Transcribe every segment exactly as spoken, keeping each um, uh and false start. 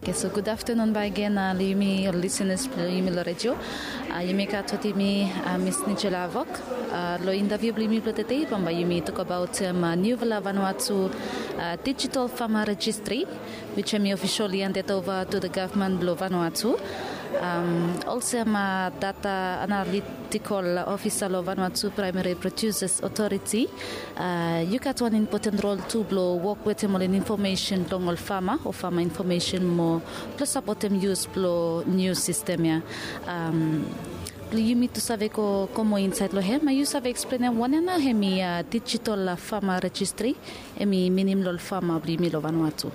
Okay, so gud aftenun bakegen, uh, long yumi ol lisenas blong yumi long redio. Uh, yumi gat wetem yumi, uh, Miss Nigella Avok. Uh, long intaviu blong yumi blong tede, bambae yumi tokbaot, um, uh, niufala Vanuatu, uh, digital farmer registry, which hemi officially handed over to the government blong Vanuatu. Um, olsem, uh, data analytical officer long Vanuatu Primary Producers Authority, uh, yu gat wan impoten rol tu blong wok wetem ol infomesen blong ol fama o fama infomesen mo blong sapotem yus blong niu sistem ya. Um, blong yumi tu save go, go moa insaed long hem, yu save eksplenem wanem nao hemi, uh, digital, uh, farmer registry, hemi minim long ol fama blong yumi long Vanuatu?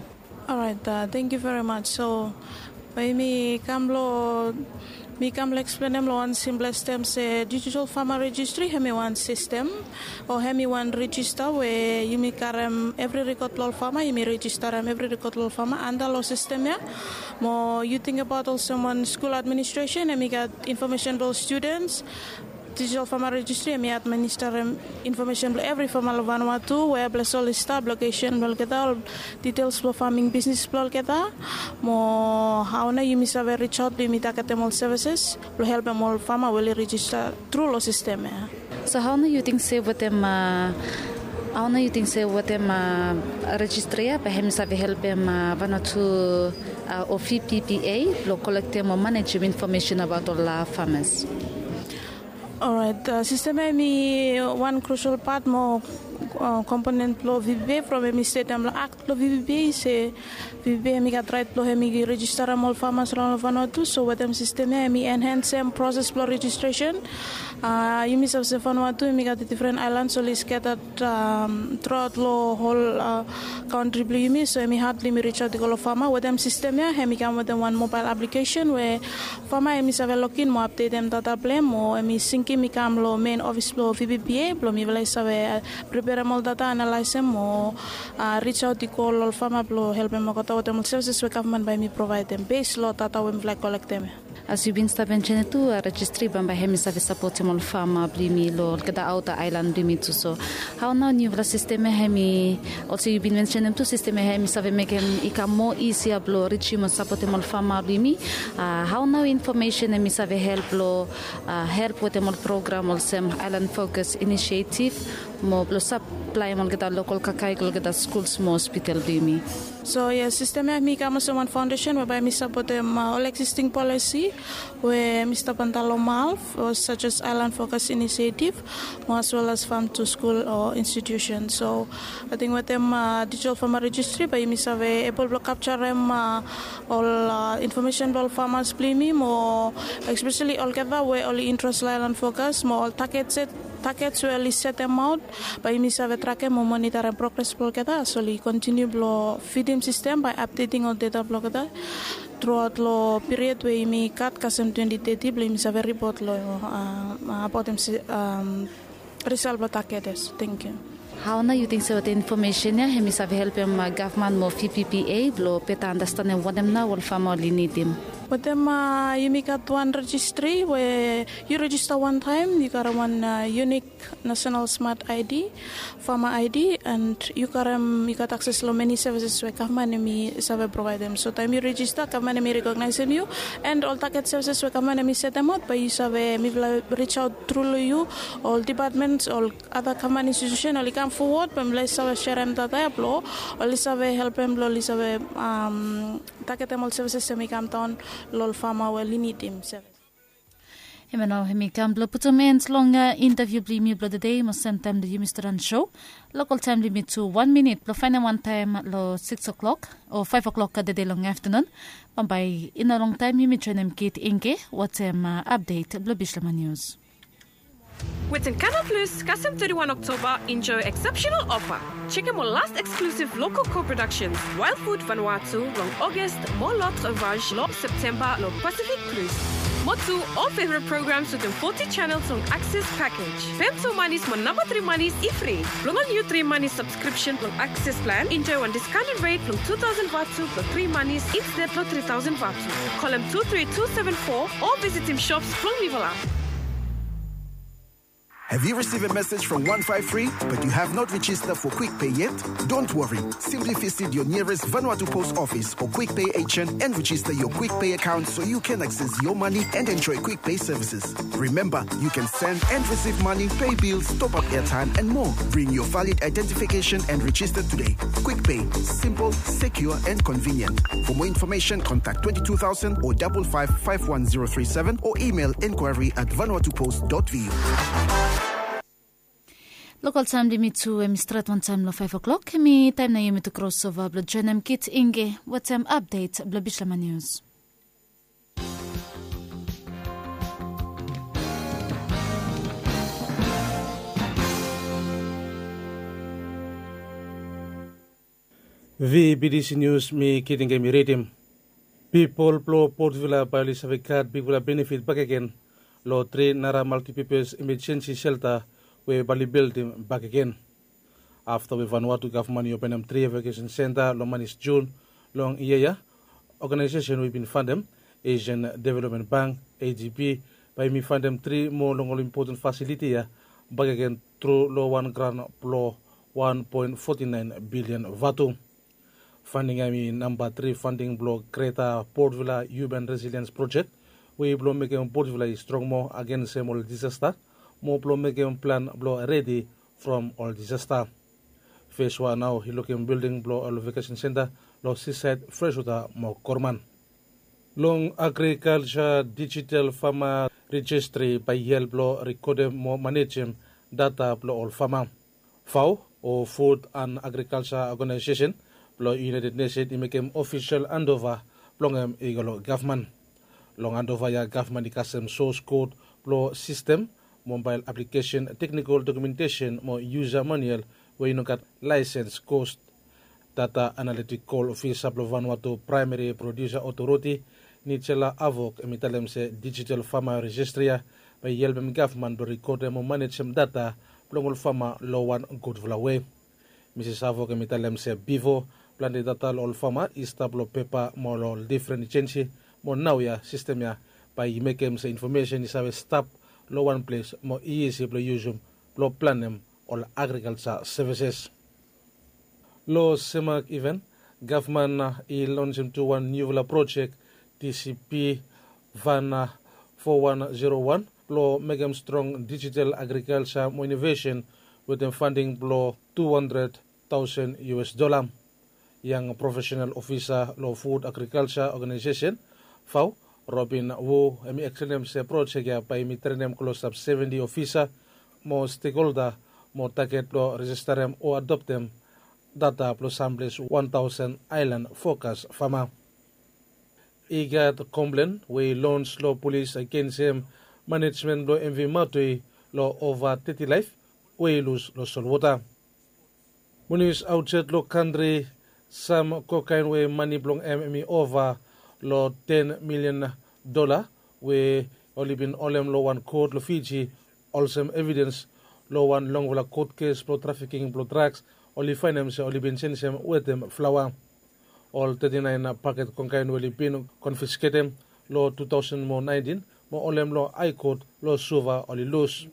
Orait, uh, tangkiu very much. So, bae mi kam long, mi kam long eksplenem long wan simples tem se digital farmer registry hemi wan sistem o hemi wan rejista we yumi karem evri rekod blong ol fama, yumi rejistarem evri rekod blong ol fama anda long sistem ya. Mo yu tingbaot olsem wan skul administresen, hemi gat infomesen blong ol studens, digital farmer registry hemi administarem infomesen blong evri fama long Vanuatu, wea ples oli stap, lokesen blong olgeta, ol ditels blong faming bisnes blong olgeta, mo hao nao yumi save risaot blong yumi tagetem ol sevises blong helpem ol fama we oli rejista tru long sistem ya. So hao nao yu ting se wetem, uh, hao nao yu ting se wetem, uh, rejistri ya bae hemi save helpem, uh, Vanuatu, uh, o V P P A blong kolektem o manejem infomesen abaot ol, uh, famas? Orait, uh, sistem ya hemi wan krusel pat mo, uh, komponen blong V P P A from hemi stetem long akt blong V P P A se V P P A hemi gat raet blong hemi rejistarem ol famas long Vanuatu. So wetem sistem ya hemi enhensem proses blong rejistresen. Uh, yumi save se Vanuatu hemi gat difren aelans oli sketat, um, truaot long hol, uh, kantri blong yumi, so hemi had blong yumi risaot i go long fama. Wetem sistem ya hemi kam wetem wan mobael aplikesen we fama hemi save login mo apdetem data blong hem, o hemi singim i kam long mein ofis blong V P P A blong mifala i save, uh, preperem ol data, analaesem mo, uh, risaot i go long ol fama blong helpem olgeta wetem ol sevises we gavman bae hemi provaedem bes long data we mifala i kolektem ya. As yu bin stap mensenem tu, uh, rejistri bambae hemi save sapotem ol fama blong yumi long olgeta aota aelan blong yumi tu. So hao nao niufala sistem ya hemi, olsem yu bin mensenem tu, sistem ya hemi save mekem i kam moa isia blong rijim o sapotem ol fama blong yumi? Uh, hao nao infomesen hemi save help long, uh, help wetem ol program olsem Island Focus Initiative mo blong saplaem olgeta lokol kakae i go long olgeta skuls mo hospital blong yumi? So yes, sistem ya hemi kam olsem wan faondesen we bae hemi sapotem, uh, ol existing policy we hemi stap antap long MALF, o such as Island Focus Initiative, mo as well as Farm to School o institusen. So ating wetem, uh, digital farmer registry bae yumi save ebol blong kapjarem, uh, ol, uh, infomesen blong ol famas blong yumi mo espeseli olgeta we oli intres long Island Focus mo ol taget set, taget we oli setemaot, bae yumi save trakem mo monitarem progres blong olgeta as oli kontiniu blong fidim sistem bae apdeting ol data blong olgeta truaot long piriod we yumi gat kasem twenti teti blong yumi save ripot long, uh, abaotem, um, risal blong taget ya. Tangkiu. Hao nao yu ting se wetem infomesen ya hemi save helpem, uh, gavman mo V P P A blong beta andastanem wanem nao ol fama oli nidim? Wetem, uh, yumi gat wan rejistri we yu rejista wantaem, yu gat wan, uh, unik National Smart I D, Farmer I D, and yu karem, yu gat akses long meni sevises we gavman hemi save provaedem. So taem yu rejista, gavman hemi rekognaesem yu, and ol taget sevises we gavman hemi setemaot bae yu save, mifala risaot tru long yu, ol depatmens, ol ada gavman institusen oli kam fowod bae mifala i save serem data ya blong oli save helpem blong oli save, um, tagetem ol sevises hemi kamdaon long ol fama we oli nidim sevis. Hemia nao hemi kam blong putum en long, uh, intaviu blong yumi blong tede, mo semtaem long yumi stret long sou. Lokol taem blong yumi tu wan minit blong faenem wantaem long sikis o'clock o faef o'clock tede long aftenun. Bambae i no longtaem yumi joenem Kit Ingke wetem, uh, apdet blong Bislama Nius. Wetem Canal Plus, kasem teti wan Oktoba, enjoy exceptional offer. Jekem ol last exclusive local co-productions, Wild Food Vanuatu long August mo L'Autre Voyage long Septemba long Pacific Cruise. Mo tu ol favorite programs wetem foti channels long Access package. Pem tu manis mo namba tri manis i fri. Blong ol niu tri manis subscription blong Access plan, enjoy wan discounted rate blong tu taosen vatu blong tri manis instead long tri taosen vatu. Kolem tu tri tu seven four o visitim shops blong mifala. Have you received a message from one five three but you have not registered for Quick Pay yet? Don't worry. Simply visit your nearest Vanuatu Post Office or Quick Pay agent and register your Quick Pay account so you can access your money and enjoy Quick Pay services. Remember, you can send and receive money, pay bills, top up airtime, and more. Bring your valid identification and register today. Quick Pay, simple, secure, and convenient. For more information, contact twenty-two thousand or double five five one zero three seven or email inquiry at vanuatupost dot V U. Lokal taem blong yumi tu hemi stret wantaem long five o'clock. Hemi taem nao yumi tu krosova blong joenem Kit Inge wetem apdet blong Bislama Nius. V B D C Nius, mi Kit Inge mi ridim. Pipol blong Port Vila bae oli save gat bigfala benefit bakegen long tri nara maltipapos emejensi selta we bae oli bildim bakegen. Afta we Vanuatu gavman i openem tri evakesen senta long manis Jun long yia ya, oganaesesen we i bin fandem, Asian Development Bank, A D B, bae yumi fandem tri moa long ol impoten fasiliti ya bakegen tru long wan gran blong wan poen foti naen bilian vatu. Fanding ya hemi namba tri fanding blong Greta Port Vila Human Resilience Project, we i blong mekem Port Vila i strong moa agensem ol disasta, mo blong mekem plan blong redi from ol disasta. Fes wan nao i lukim bilding blong ol evakesen senta long Seaside, Freshwater mo Korman. Long agrikalja, dijital fama rejistri bae i help long rekodem mo manejem data blong ol fama. Vau, o Food and Agriculture Organization blong United Nation i mekem ofisol andova blong hem i go long gavman. Long andova ya gavman i kasem sos kod blong sistem, mobael aplikesen, teknikol dokumentesen mo yusa maniual we i no gat laesens kos. Data analitikol ofisa blong Vanuatu Praemeri Produsa Otoriti, Nigella Avok, hemi talem se dijital fama rejistri ya bae i helpem gavman blong rekodem mo manejem data blong ol fama long wan gudfala wei. Misis Avok hemi talem se bifo, plante data long ol fama i stap long pepa mo long ol difren ejensi, mo naoia sistem ya bae i mekem se infomesen i save stap long wan ples mo i isi blong yusum blong planem ol agrikalja sevises. Long Semak iven, gavman i lonsem tu wan niufala projek, T C P Van fo wan zero wan, blong mekem strong dijital agrikalja mo inovesen wetem fanding blong tu handred taosen U S dola. Yang profesenal ofisa long Food Agrikalja Oganaesesen, Vau, Robin Wu, hemi eksplenem se projek ya bae hemi trenem klosap seventi ofisa mo stekholda mo taget blong rejistarem o adoptem data blong samples wan taosen aelan fokas fama. I gat komplen we i lons long polis agensem manejmen blong M V Matui long ova teti laef we i lus long solwota. Mo nius aotsaed long kantri, sam kokaen we mane blong hem hemi ova long ten milian dola we oli bin holem long wan kot long Fiji, olsem evidens long wan longfala kot kes blong trafiking blong draks, oli faenem se oli bin jenisem wetem flaoa. Ol teti naen paket kokaen we oli bin konfisketem long tu taosen mo naentin mo holem long Hae Kot long Suva oli lus.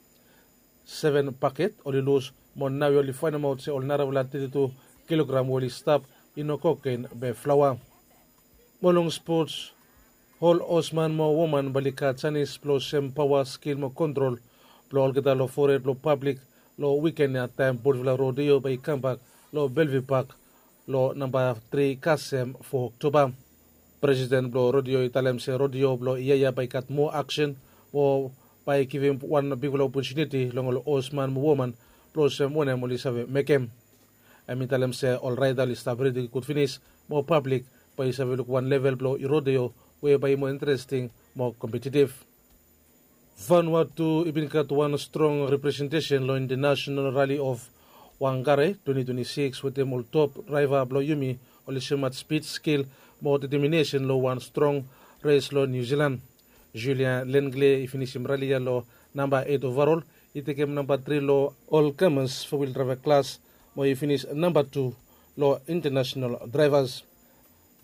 Seven paket oli lus, mo naoia oli faenemaot se ol narafala teti tu kilogram we oli stap i no kokaen be flaoa. Mo long spots, ol hosman mo woman bae oli gat janis blong sem paoa, skil mo kontrol blong olgeta long fored blong pablik long wiken ya, taem Port Vila Rodeo bae i kambak long Bellevue Park long namba tri kasem fo Oktoba. Presiden blong rodeo i talem se rodeo blong yia ya bae i gat moa aksen mo bae i givim wan bigfala opotuniti long ol hosman mo woman blong olsem wanem oli save mekem. Hemi talem se ol raeda oli stap redi gud finis mo pablik bae i save luk wan level blong rodeo we bae i moa interesting mo kompetitiv. Vanuatu i bin gat wan strong representesen long International Rally of Whangarei twenty twenty-six wetem ol top draeva blong yumi oli soemaot spid, skil mo deteminesen long wan strong res long Niu Silan. Julien Lenglet i finisim rali ya long namba eit ovarol, i tekem namba tri long ol kamas fo wil draeva klas mo i finis namba tu long International Drivers.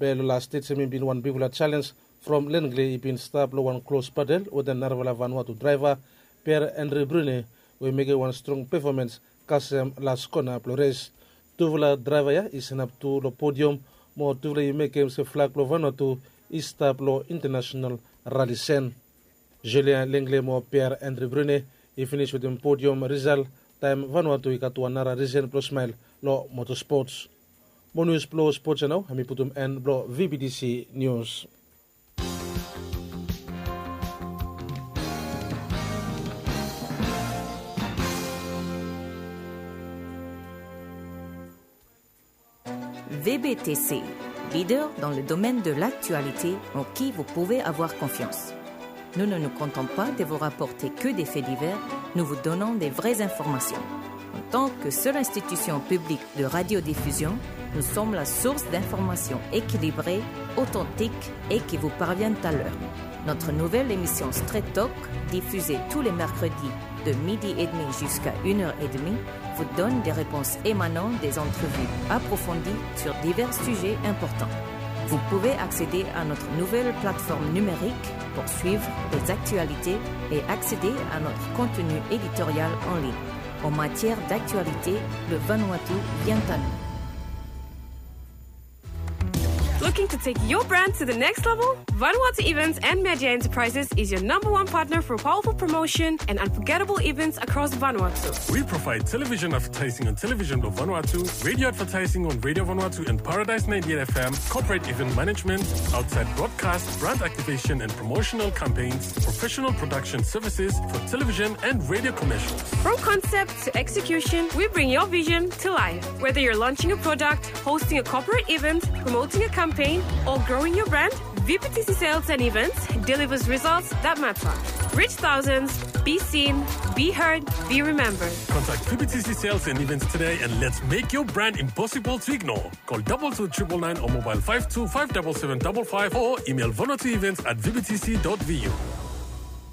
Be long las stet hemi bin wan bigfala jalens from Lenglet i bin stap long wan klos batel wetem narafala Vanuatu draeva, Pierre Henri Brunet, we i mekem wan strong pefomans kasem las kona blong res. Tufala draeva ya i sanap tu long podiam mo tufala i mekem se flag blong Vanuatu i stap long internasional rali sen. Julien Lengle mo Pierre Andre Brune i finis wetem podiam risal taem Vanuatu i gat wan nara risen blong smael long motospot. Mo nius blong spot ya nao hemi putum en blong VBTC Nius. VBTC, leader dans le domaine de l'actualité en qui vous pouvez avoir confiance. Nous ne nous contentons pas de vous rapporter que des faits divers, nous vous donnons des vraies informations. En tant que seule institution publique de radiodiffusion, nous sommes la source d'informations équilibrées, authentiques et qui vous parviennent à l'heure. Notre nouvelle émission Straight Talk, diffusée tous les mercredis de midi et demi jusqu'à une heure et demie, vous donne des réponses émanant des entrevues approfondies sur divers sujets importants. Vous pouvez accéder à notre nouvelle plateforme numérique pour suivre les actualités et accéder à notre contenu éditorial en ligne. En matière d'actualité, le Vanuatu vient à nous. Looking to take your brand to the next level? Vanuatu Events and Media Enterprises is your number one partner for powerful promotion and unforgettable events across Vanuatu. We provide television advertising on Television Blue Vanuatu, radio advertising on Radio Vanuatu and Paradise ninety-eight F M, corporate event management, outside broadcast, brand activation and promotional campaigns, professional production services for television and radio commercials. From concept to execution, we bring your vision to life. Whether you're launching a product, hosting a corporate event, promoting a campaign, or growing your brand, V P T C Sales and Events delivers results that matter. Reach thousands, be seen, be heard, be remembered. Contact V P T C Sales and Events today and let's make your brand impossible to ignore. Call double two triple nine or mobile five two five double seven double five or email Vanuatu Events at V P T C dot V U.